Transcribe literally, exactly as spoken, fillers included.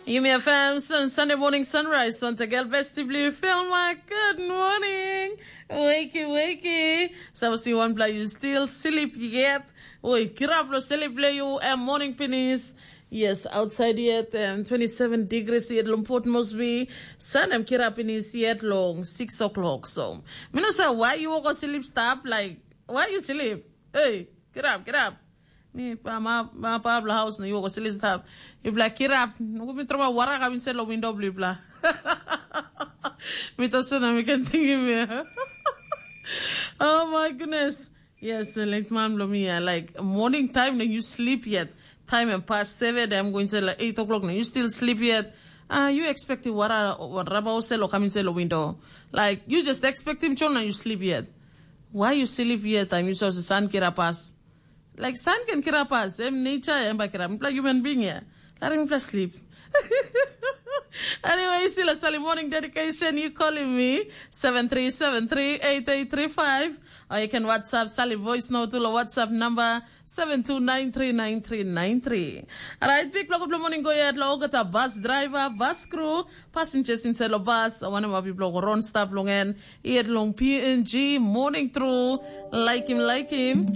Yumi F M sun, Sunday morning sunrise. Once again, best to blue film. My good morning. Wakey, wakey. So I see one play you still sleep yet. Oi, kirap lo sleep le you and morning finish. Yes, outside yet um, twenty-seven degrees yet long Port Moresby. Sun am kirap in his yet long six o'clock. So, mi no say why you go sleep stop like why you sleep? Hey, kirap, kirap. Mi pa ma ma pa bla house na yuko silis tap. Yu bla kirap. Nuku mi troma wara ka bin selo window bli bla. Mi to sena mi kan tingim ya. Oh my goodness. Yes, late man blo mi ya. Like morning time na you sleep yet. Time and past seven, I'm going to say like eight o'clock na you still sleep yet. Uh, you expect wara raba oselo coming selo window. Like you just expect him chol na you sleep yet. Why you sleep yet? I'm used to sun kirapas. Like sun can kirapas, em nature em ba kirap. Mipela human being ya. Larim mipela sleep. Anyway, still a Sally morning dedication. You calling me seven three seven three eight eight three five, or you can WhatsApp Sally voice note to the WhatsApp number seven two nine three nine three nine three. Alright, big block of the morning go yet lo gata bus driver, bus crew, passengers inside lo bus, one of my people go run stop long end, yet long P N G morning through, like him, like him.